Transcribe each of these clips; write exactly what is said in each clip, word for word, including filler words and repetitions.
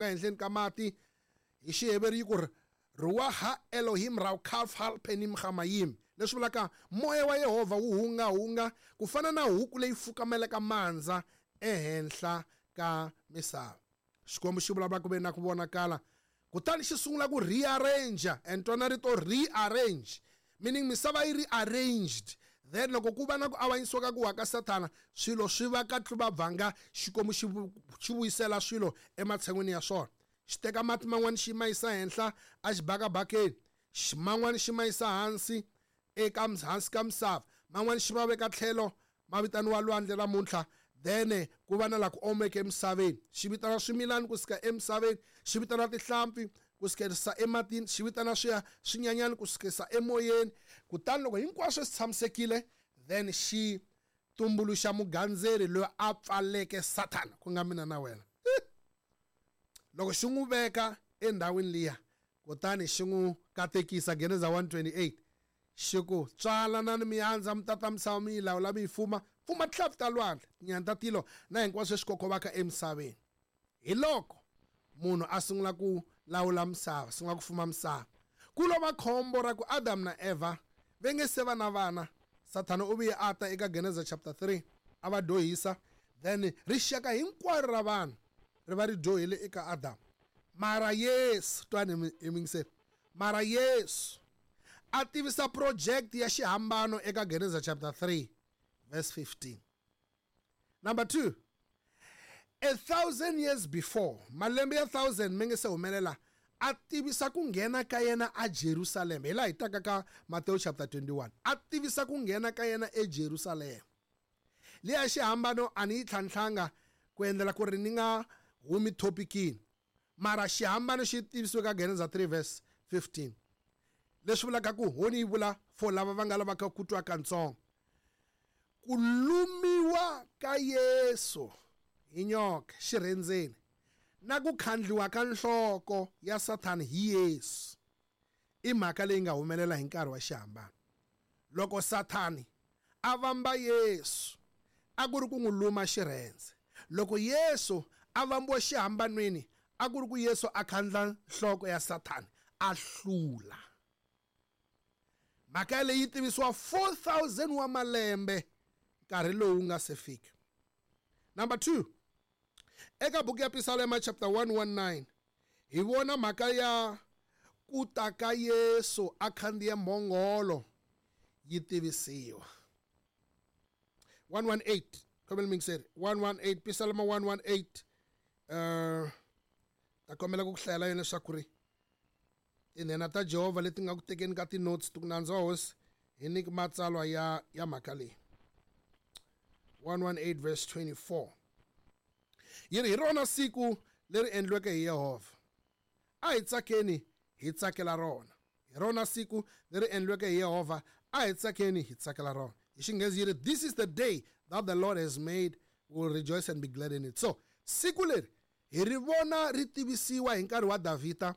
Ehenhleni ka mati, hi Xiheveri yi ku ri ruwaha Elohim raukaf halpenim hamayim, leswi vulaka moya wa Yehovha wu hungahunga ku fana na huku leyi fukamelaka mandza ehenhla ka misava. Xikwembu xi vulavula, ku ve na ku vonakala. Kutani xi sungula ku rearrange, and twana rito rearrange, meaning misava yi rearranged. Then loko ku va na ku avanyisiwa ka ku wa ka Sathana, swilo swi va ka tluvabvanga. Xikwembu xi xi vuyisela swilo ematshan'wini ya swona. Xi teka mati man'wani, xi ma yisa henhla exibakabakeni, man'wani xi ma yisa hansi eka hansi ka misava, man'wani xi va veka tlhelo, ma vitaniwa lwandle namuntlha. Then ku va na la ku omeke emisaveni. Xi vitana swimilani kusuka emisaveni, xi vitana tihlampfi ku sukerisa ematini, xi vitana swiya swinyanyani ku sukisa emoyeni. Kutani loko hinkwaswo swi tshamisekile, then xi tumbuluxa mugandzeri loyi a pfaleke Sathana, ku nga mina na wena. Loko xi n'wi veka endhawini liya, kutani xi n'wi katekisa, Geneza one twenty-eight, xi ku: "Tswalanani, mi andza, mi tata misava, mi yi lawula, mi yi fuma, fuma tihlampfi ta lwandle, tinyani ta tilo na hinkwaswo leswi kokovaka emisaveni." Hi loko munhu a sungula ku lawula misava, sungula ku fuma misava. Ku lova khombo ra ku Adam na Eva va nge se va na vana. Sathana u vuye a ta eka Geneza chapter three, a va dyohisa. Then rixaka hinkwaro ra vanhu ri va ri dyohile eka Adam. Mara Yesu, twani hi mingiseni, mara Yesu a tivisa project ya xihambano eka Geneza chapter three verse fifteen. Number two, a thousand years before, malembe ya thousand mi nge se humelela, a tivisa ku nghena ka yena a Jerusalem. Hi laha hi taka ka Mateo chapter twenty-one, a tivisa ku nghena ka yena eJerusalem. Liya xihambano a ni yi tlhantlhanga ku endlela ku ri ni nga humi topicini, mara xihambano xi tivisiwe ka Geneza three verse fifteen, leswi vulaka ku honi yi vula for lava va nga lavaka ku twa katsongo ku lumiwa ka Yesu hi nyoka xirhendzeni na ku khandliwa ka nhloko ya Sathani hi Yesu i mhaka leyi nga humelela hi nkarhi wa xihambano. Loko Sathani a vamba Yesu, a ku ri ku n'wi luma xirhendze. Loko Yesu a vambiwa xihambanweni, a ku ri ku Yesu a khandla nhloko ya Sathani, a hlula. Mhaka leyi yi tivisiwa four thousand wa malembe nkarhi lowu nga se fika. Number two, eka buku ya Pisalema chapter one nineteen, hi vona mhaka ya ku ta ka Yesu a khandziya mbhongolo yi tivisiwa. one eighteen, kombela mingiseri, one eighteen, Pisalema one eighteen. uh ta kombela ku ku hlayela yona leswaku ri tinhena ta Jehovha leti nga ku tekeni ka ti-notes ti ku nandza wa hosi hi nyiki matsalwa ya ya mhaka leyi. one eighteen verse twenty-four yi ri: "Hi rona siku leri endliweke hi Yehovha, a hi tsakeni hi tsakela rona. Hi rona siku leri endliweke hi Yehovha, a hi tsakeni hi tsakela rona." Hi Xinghezi yi ri: "This is the day that the Lord has made, we will rejoice and be glad in it." So siku leri hi ri vona ri tivisiwa hi nkarhi wa Davhida.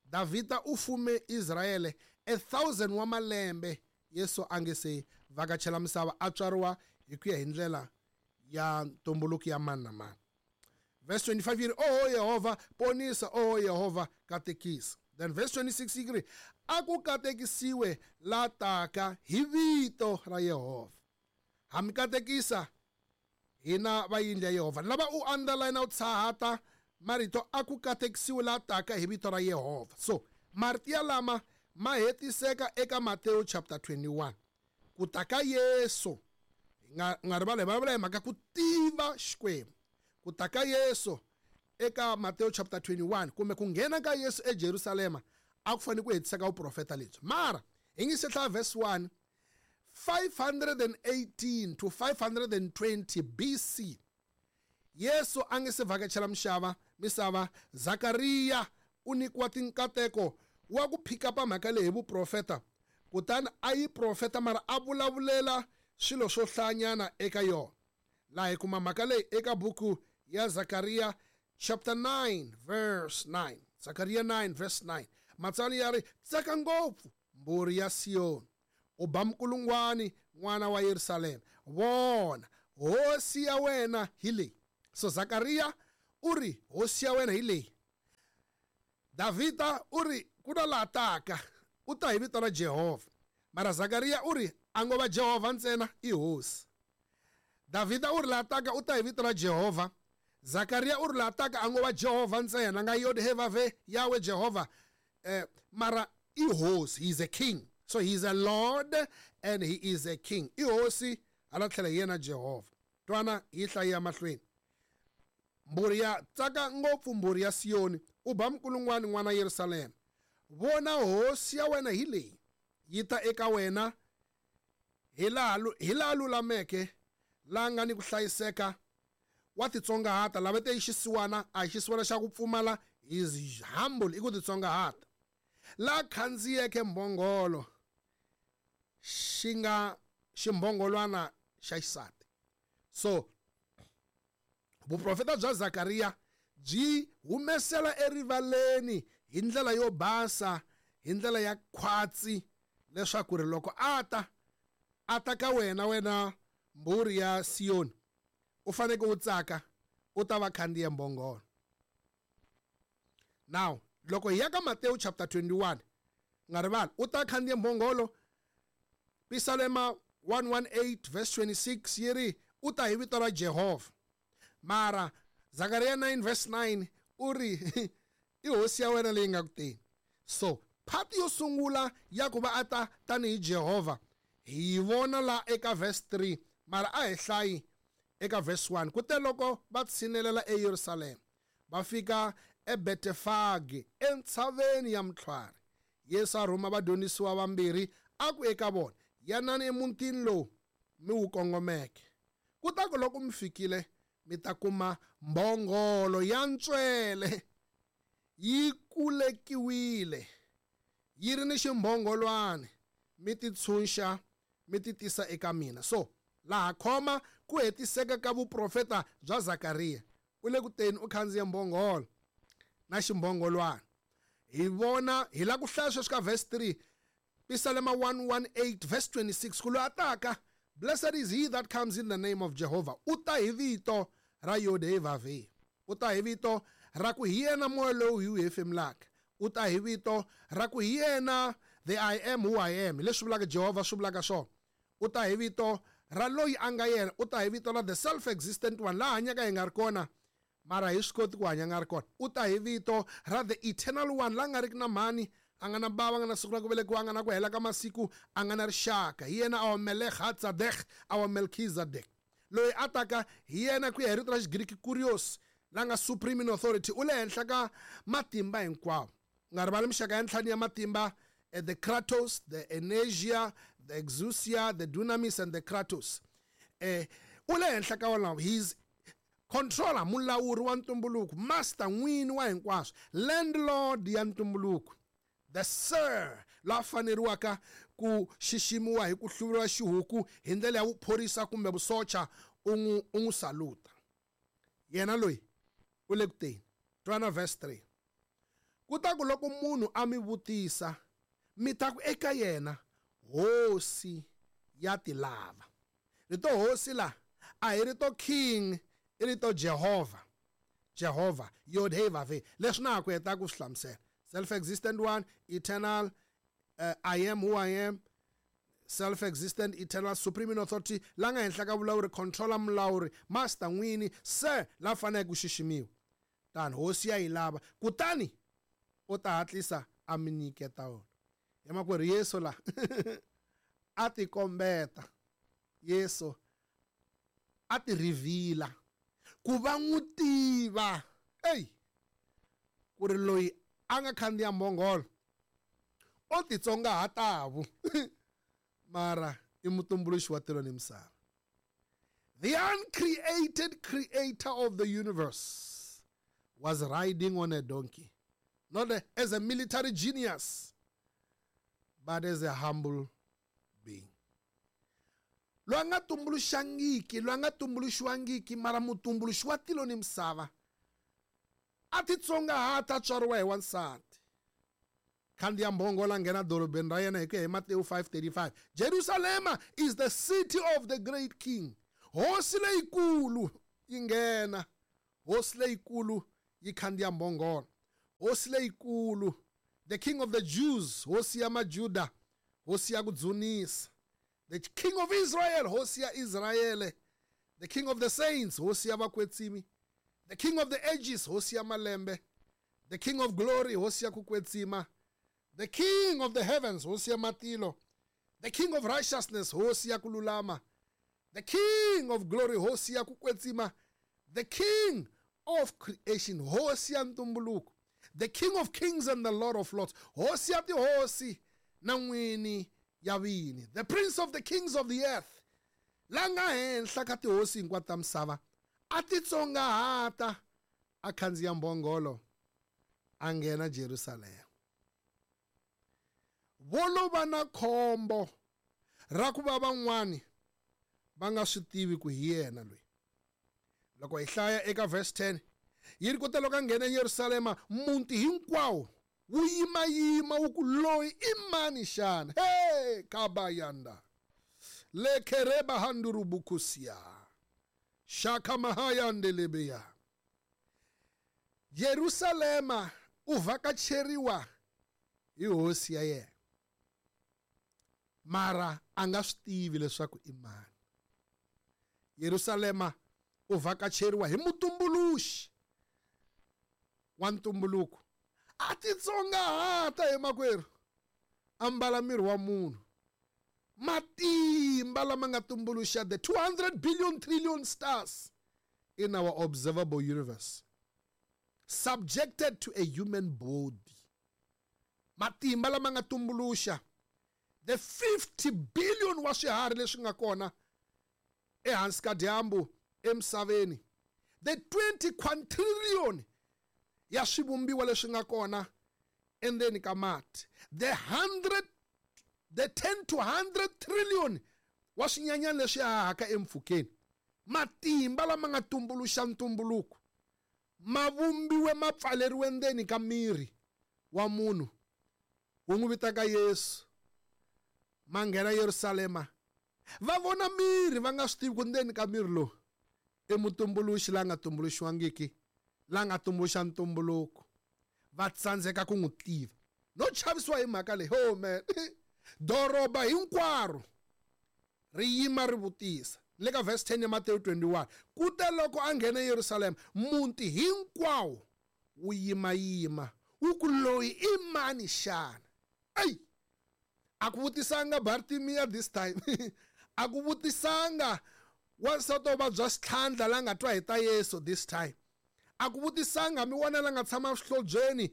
Davhida u fume Israyele a thousand wa malembe Yesu a nge se vhakachela misava, a tswariwa hi ku ya hi ndlela ya ntumbuluko ya mani na mani. Verse twenty-five yi ri: "Oho Yehovha, ponisa! Oho Yehovha, katekisa!" Then verse twenty-six yi ri: "A ku katekisiwe la taka hi vito ra Yehovha. Ha mi katekisa hina va yindlu ya Yehovha." Lava u underline, u tshahata marito "a ku katekisiwe la taka hi vito ra Yehovha". So marito ya lama ma hetiseka eka Mateo chapter twenty-one, ku ta ka Yesu. Hi nga nga rivali, hi vulavula hi mhaka ku tiva Xikwembu. Ku ta ka Yesu eka Mateo chapter twenty-one, kumbe ku nghena ka Yesu eJerusalema, a ku fanele ku hetiseka vuprofeta lebyi. Mara hi nge se hlaya verse one, five eighteen to five twenty B C, Yesu a nge se vhakachela mixava misava, Zakariya u nyikiwa tinkateko wa ku phikapa mhaka leyi hi vuprofeta. Kutani a yi profeta, mara a vulavulela swilo swo hlayanyana eka yona. Laha hi kuma mhaka leyi eka buku ya Zakariya chapter nine verse nine. Zakariya nine verse nine, matsalwa ya ri: "Tsaka ngopfu, mbhuri ya Siyoni, u ba mikulungwani, n'wana wa Yerusalema. Vona, hosi ya wena hi leyi." So Zakariya u ri hosi ya wena hi leyi. Davhida u ri ku na laha taka u ta hi vito ra Jehovha. Mara Zakariya u ri a ngo va Jehovha ntsena i hosi. Davhida u ri laha taka u ta hi vito ra Jehovha. Zakariya u ri laha taka a ngo va Jehovha ntsena nga Yod He Vav He Yahweh Jehovha. Eh, mara i hosi, he is a king. So he is a lord and he is a king. I hosi hala tlhela hi yena Jehovha. Twana hi hlaya mahlweni. Mbhuri ya tsaka ngopfu mbhuri ya Siyoni, u ba mkulungwani n'wana Yerusalema. Vona hosi ya wena hi leyi, yi ta eka wena hi laha hi laha lulameke, laha nga ni ku hlayiseka, wa titsongahata. Lava te i xisiwana, a hi xisiwana xa ku pfumala, he is humble, i ku titsongahata. La khandziyeke mbhongolo, xi nga ximbhongolwana xa xisati. So vuprofeta bya Zakariya byi humesela erivaleni hi ndlela yo basa, hi ndlela ya khwatsi, leswaku ri loko a ta a ta ka wena, wena mbhuri ya Siyoni, u faneke u tsaka, u ta va khandziya mbhongolo. Now loko hi ya ka Matewu chapter twenty-one, nga rivali, u ta khandziya mbhongolo. Pisalema one one eight verse twenty-six yi ri u ta hi vito ra Jehovha. Mara Zakariya nine verse nine u ri i hosi ya wena leyi nga ku teni. So part yo sungula ya ku va a ta tanihi Jehovha hi yi vona la eka verse three, mara a hi hlayi eka verse one. Kute loko va tshinelela eYerusalema, va fika eBetefage entshaveni ya Mtlhwari, Yesu a rhuma vadyondzisiwa vambirhi a ku eka vona, yanani emutini lowu mi wu kongomeke. Kutaku loko mi fikile, mi ta kuma mbhongolo ya ntswele yi kulekiwile, yi ri ni ximbhongolwana, mi ti tshunxa, mi ti tisa eka mina. So laha khoma ku hetiseka ka vuprofeta bya Zakariya. U le ku teni u khandziya mbhongolo na ximbhongolwana. Hi vona hi la ku hlaya sweswi ka verse three, Pisalema one one eight verse twenty-six, ku loyi a taka, blessed is he that comes in the name of Jehovah. U ta hi vito ra Yod He Vav He. U ta hi vito ra ku hi yena moya lowu hi wu hefemulaka. U ta hi vito ra ku hi yena the I am who I am. Leswi vulaka Jehovha swi vulaka swona. U ta hi vito ra loyi a nga yena. U ta hi vito ra the self-existent one, laha hanyaka hi nga ri kona, mara hi swi koti ku hanya nga ri kona. U ta hi vito ra the eternal one, la nga riki na mhani, a nga na bava, a nga na siku ra ku velekiwa, a nga na ku hela ka masiku, a nga na rixaka. Hi yena our Melech-Hatzadek, our Melchizedek. Loyi a taka hi yena ku ya hi rito ra Xigriki Kurios, la nga supreme in authority, u le henhla ka matimba hinkwawo. U nga rivali mixaka ya ntlhanu ya matimba, the Kratos, the Energia, the Exousia, the Dunamis and the Kratos. Eh, u le henhla ka wona, he's controller, mulawuri wa ntumbuluko, master, n'wini wa hinkwaswo, landlord ya ntumbuluko, the sir, la faneriwaka ku xiximiwa hi ku hluvuriwa xihuku hi ndlela ya vuphorisa kumbe vusocha, u n'wi u n'wi saluta. Yena loyi u le ku teni. Twana verse three. Kutaku loko munhu a mi vutisa, mi ta ku eka yena, hosi ya ti lava. Rito hosi la a hi rito king, i rito Jehovha. Jehovha, Yod He Vav He. Leswi na ku heta ku swi hlamusela. Self-existent one, eternal, uh, I am who I am, self-existent, eternal, supreme in authority, la nga henhla ka vulawuri, controller, mulawuri, master, n'wini, sir, la faneleke ku xiximiwa. Tani hosi ya yi lava, kutani u ta hatlisa a mi nyiketa wona. Hi makwerhu Yesu la a ti kombeta, Yesu a ti reveal ku va n'wi tiva, ey, ku ri loyi a nga khandziya mbhongolo o titsongahatavu, mara i mutumbuluxi wa tilo ni misava. The uncreated creator of the universe was riding on a donkey, not a, as a military genius, but as a humble being. Loyi a nga tumbuluxangiki, loyi a nga tumbuluxiwangiki, mara mutumbuluxi wa tilo ni misava a titsongahata, a tswariwa hi wansati. Khandziya mbhongolo a nghena dorobeni ra yena hi ku ya hi Matewu five thirty-five. Jerusalema is the city of the great king. Hosi leyikulu yi nghena, hosi leyikulu yi khandziya mbhongolo. Hosi leyikulu, the King of the Jews, hosi ya Majuda, hosi ya ku dzunisa, the King of Israel, hosi ya Israyele, the King of the Saints, hosi ya vakwetsimi, the King of the Ages, hosi ya malembe, the King of Glory, hosi ya ku kwetsima, the King of the Heavens, hosi ya matilo, the King of Righteousness, hosi ya ku lulama, the King of Glory, hosi ya ku kwetsima, the King of Creation, hosi ya ntumbuluko, the King of Kings and the Lord of Lords, hosi ya tihosi na n'wini ya vini, the Prince of the Kings of the Earth, la nga henhla ka tihosi hinkwato ta misava, a titsongahata a khandziya mbhongolo a nghena Jerusalema. Vo lo va na khombo ra ku va van'wani va nga swi tivi ku hi yena loyi. Loko hi hlaya eka verse ten, yi ri kute loko a nghena eYerusalema, muti hinkwawo wu yimayima wu ku loyi i mani xana? Hey, kabayanda lekereba handurubukusia shaka mahayandelebeya. Yerusalema u vhakacheriwa hi hosi ya yena, mara a nga swi tivi leswaku i mani. Yerusalema u vhakacheriwa hi mutumbuluxi wa ntumbuluko, a titsongahata hi makwerhu, ambala miri wa munhu, matimba lama nga tumbuluxa the two hundred billion trillion stars in our observable universe, subjected to a human body. Matimba lama nga tumbuluxa the fifty billion wa swiharhi leswi nga kona ehansi ka dyambu emisaveni, the twenty quintillion ya swivumbiwa leswi nga kona endzeni ka mati, the hundred the ten to hundred trillion wa swinyanyana leswi hahaka empfhukeni. Matimba lama nga tumbuluxa ntumbuluko ma vumbiwe ma pfaleriwe ndzeni ka miri wa munhu wu n'wi vitaka Yesu, ma nghena Yerusalema, va vona miri va nga swi tivi ku ndzeni ka miri lowu i mutumbuluxi la nga tumbuluxiwangiki, la nga tumbuluxa ntumbuluko. Va tsandzeka ku n'wi tiva no chavisiwa hi mhaka leyi. Oh man, doroba hinkwaro ri yima ri vutisa. Le ka verse ten ya Matewu twenty-one, kute loko a nghena eYerusalema, muti hinkwawo wu yimayima wu ku loyi i mani xana? Ey, a ku vutisanga Bartimiya this time, a ku vutisanga wansati wo vabya xitlhandla la nga twa hi ta Yesu this time, a ku vutisanga mi vona la nga tshama xihlobyeni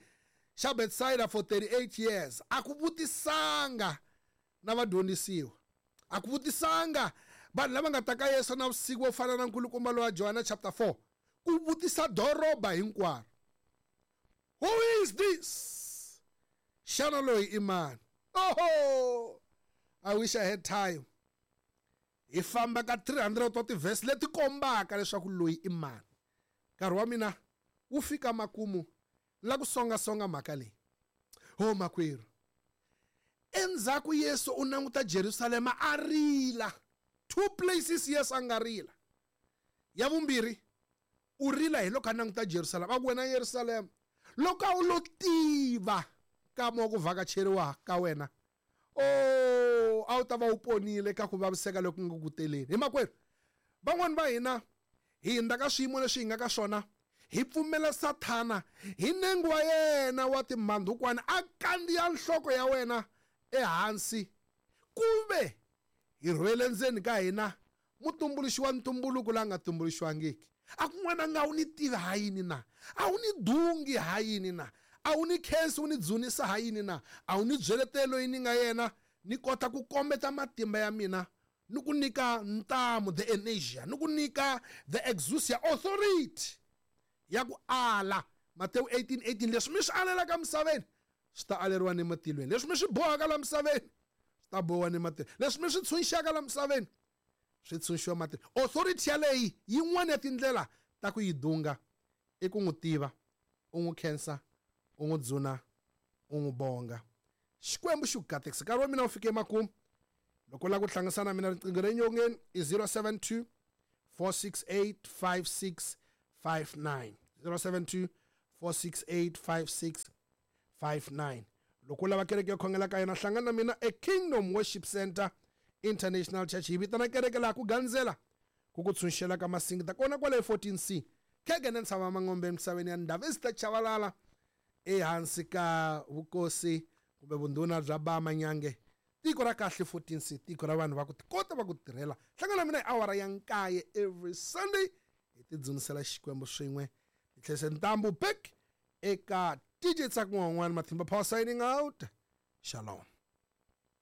xa Bethsaida for thirty-eight years, a ku vutisanga na vadyondzisiwa, a ku vutisanga vanhu lava nga ta ka Yesu na vusiku vo fana na nkulukumba lowa Johana chapter four, ku vutisa doroba hinkwaro, who is this? Xana loyi i mani? Oho, I wish I had time. Hi famba ka three hundred wa ti-verse leti kombaka leswaku loyi i mani. Nkarhi wa mina wu fika makumu la ku songasonga mhaka leyi. Ho makwerhu, endzhaku Yesu u languta Jerusalema a rila. Two places Yesu a nga rila. Ya vumbirhi, u rila hi loko a languta Jerusalema, a ku wena Yerusalema, loko a wu lo tiva nkama wa ku vhakacheriwa ka wena, oh, a wu ta va wu ponile ka ku vaviseka loku nga ku teleni. Hi makwerhu, van'wani va hina hi hindza ka swiyimo leswi hi nga ka swona, hi pfumela Sathana hi nengo wa yena wa timhandhukwana a kandziya nhloko ya wena ehansi, kumbe hi rhwele ndzeni ka hina mutumbuluxi wa ntumbuluko la nga tumbuluxiwangiki. A ku n'wana nga wu ni tivi ha yini na? A wu ni dungi ha yini na? A wu ni khensi wu ni dzunisa ha yini na? A wu ni byeletelo loyi ni nga yena ni kota ku kombeta matimba ya mina ni ku nyika ntamu the energia, ni ku nyika the exousia authority ya ku ala. Matewu eighteen eighteen, leswi mi swi alelaka misaveni swi ta aleriwa ni matilweni, leswi mi swi bohaka la misaveni swi ta bohiwa ni matilweni, leswi mi swi tshunxaka la misaveni swi tshunxiwa matilweni. Authority yaleyi yin'wana ya tindlela ta ku yi dunga i ku n'wi tiva, u n'wi khensa, u n'wi dzuna, u n'wi bonga. Xikwembu xi ku katekisa. Nkarhi wa mina wu fike emakumu. Loko u lava ku hlanganisa na mina riqingho ra nyongeni i zero seven two four six eight five six five nine, zero seven two four six eight five six five nine. Loko u lava kereke yo khongela ka yona, hlangana na mina e Kingdom Worship Center International Church. Hi vitana kereke laha ku gandzela ku ku tshunxela ka masingita kona kwale fourteen C Khegene Ntshava Mangombe emisaveni ya Ndavista Chavalala, ehansi ka vukosi kumbe vundhuna bya Ba Manyange. Tiko ra kahle fourteen C, tiko ra vanhu va ku tikota va ku tirhela. Hlangana na mina hi awara ya nkaye every Sunday, hi tidzunisela Xikwembu swin'we. Hi tlhese ntambu back eka D J Tsakun'wan'wana Matimba Power signing out. Shalom.